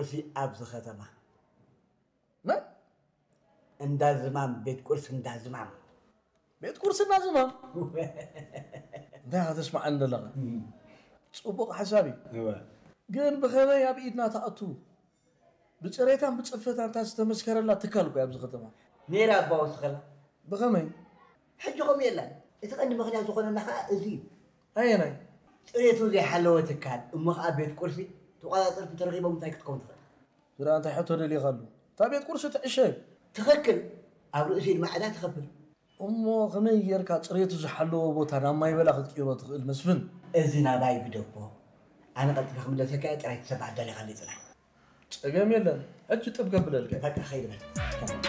እዚ ኣብዚ ከተማ መን እንዳ ዝማም፣ ቤት ቁርሲ እንዳ ዝማም። ቤት ቁርሲ እንዳ ዝማም እንታይ ከተስማዓኒ ዘለኻ? ጽቡቕ ሓሳብ እዩ። ግን ብኸመይ ኣብ ኢድና ትኣቱ? ብፅሬታን ብፅፈታን እታ ዝተመስከረላ ትካል እኮ ኣብዚ ከተማ። ነይራ ኣባወስኸላ ብኸመይ? ሕጂ ከምኡ የላን። እቲ ቀንዲ ምኽንያት ዝኾነና ከዓ እዚ እዩ። ኣየናይ? ፅሬቱ ዘይሓለወ ትካል እሞ ከዓ ቤት ቁርሲ ተቋፃፀርቲ ተረኺቦም እንታይ ክትከውን ትኽእል? ዝረኣ እንታይ ሕቶ ደሊኻሉ? እታ ቤት ቁርሲ ትዕሸግ። ትኽክል። ኣብ ርእሲ ድማ ዕዳ ትኸፍል። እሞ ከመይ ጌርካ ፅሬቱ ዝሓለዎ ቦታ ናብ ማይ በላ ክትቅይሮ ትኽእል መስፍን? እዚ ናባይ ግደፎ። ኣነ ቀልጢፈ ክምለሰካ እየ፣ ጥራይ ትሰማዕ ኣዳሊኻለይ ፅናሕ። ፀገም የለን። ሕጂ ጥብ ከብለልካ። በቃ ኸይድ በል።